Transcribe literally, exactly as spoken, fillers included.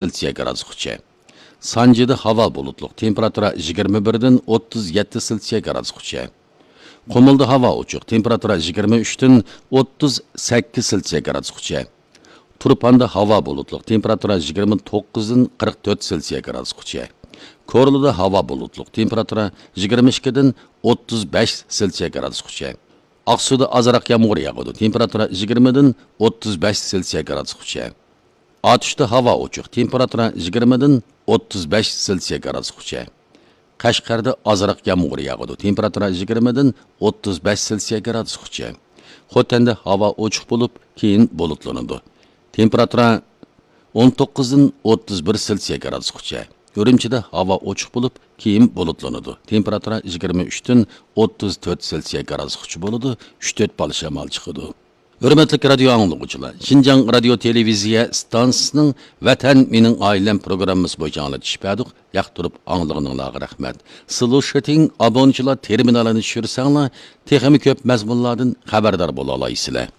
سېلسىيە گرادۇسقىچە. سانجىدا ھاۋا بۇلۇتلۇق، تېمپېراتۇرا يىگىرمە بىردىن ئوتتۇز يەتتە سېلسىيە گرادۇسقىچە. قۇمۇلدا ھاۋا ئوچۇق، تېمپېراتۇرا يىگىرمە ئۈچتىن ئوتتۇز سەككىز سېلسىيە گرادۇسقىچە. تۇرپاندا ھاۋا بۇلۇتلۇق، تېمپېراتۇرا يىگىرمە توققۇزدىن قىرىق تۆت سېلسىيە گرادۇسقىچە. كورلىدا ھاۋا بۇلۇتلۇق، تېمپېراتۇرا يىگىرمە ئىككىدىن ئوتتۇز بەش سېلسىيە گرادۇسقىچە. ئاقسۇدا ئازراق يامغۇر ياغىدۇ، تېمپېراتۇرا يىگىرمىدىن ئوتتۇز بەش سېلسىيە گرادۇسقىچە. ئاتۇشتا ھاۋا ئوچۇق، تېمپېراتۇرا يىگىرمىدىن ئوتتۇز بەش سېلسىيە گرادۇسقىچە. قەشقەردە ئازراق يامغۇر ياغىدۇ، تېمپېراتۇرا يىگىرمىدىن ئوتتۇز بەش سېلسىيە گرادۇسقىچە. خوتەندە ھاۋا ئوچۇق بولۇپ، كېيىن بۇلۇتلىنىدۇ. تېمپېراتۇرا ئون توققۇزدىن ئوتتۇز بىر سېلسىيە گرادۇسقىچە. ئۈرۈمچىدە ھاۋا ئوچۇق بولۇپ، كېيىن بۇلۇتلىنىدۇ. تېمپېراتۇرا يىگىرمە ئۈچتىن ئوتتۇز تۆت سېلسىيە گرادۇسقىچە بولىدۇ، ئۈچ تۆت بالا شامال چىقىدۇ. ھۆرمەتلىك رادىيو ئاڭلىغۇچىلار، شىنجاڭ رادىيو تېلېۋىزىيە ئىستانسىسىنىڭ ۋەتەن مېنىڭ ئائىلەم پروگراممىسى بويىچە ئاڭلىتىش بەردۇق. ياقتۇرۇپ ئاڭلىغىنىڭلارغا رەھمەت. سلۇشىتىڭ ئابونىچىلار تېرمىنالىنى چۈشۈرسەڭلار، تېخىمۇ كۆپ مەزمۇنلاردىن خەۋەردار بولالايسىلەر.